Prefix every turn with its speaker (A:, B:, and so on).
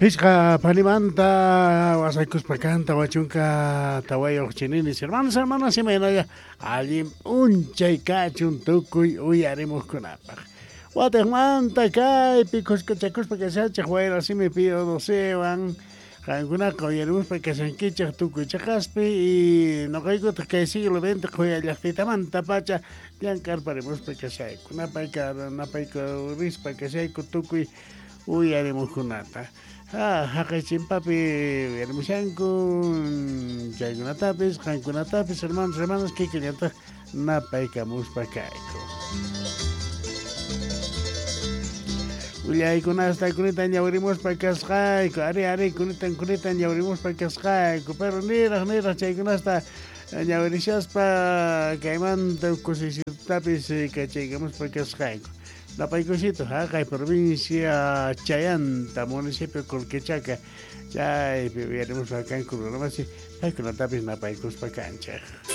A: Pichqa panimanta wasaykuspa kan 44 chininis hermanos, hermanas, imaynalla allin p'unchay kachun tukuy uyarimuqkunapaq. Watiqmanta kaypi kuskachakuspa kashanchik wayra simi Pío Docewan qankunaqa uyarimuspa kashankichik tukuy cheqaspi y noqaykutaq kay siglo XX qhuya llaqtitamantapacha llank'arparimuspa kashayku napayka napaykurispa kashayku tukuy uyarimuqkunata. Ha, haqay chimpapi uyarimushanku chaykunatapis qankunatapis hermanos, hermanas kikillataq napaykamuspa kayku. Willaykunasta kunitan ñawirimuspa kasqayku, ari ari kunitan kunitan ñawirimuspa kasqayku, pero niraq niraq chaykunasta ñawirishaspa kaymanta kusisitapis kachaykamuspa kasqayku. Napaykusito haqay provincia Chayanta, municipio Colquechaca, chaypi uyarimuspa kanku runamasi, paykunatapis napaykuspa kanchik.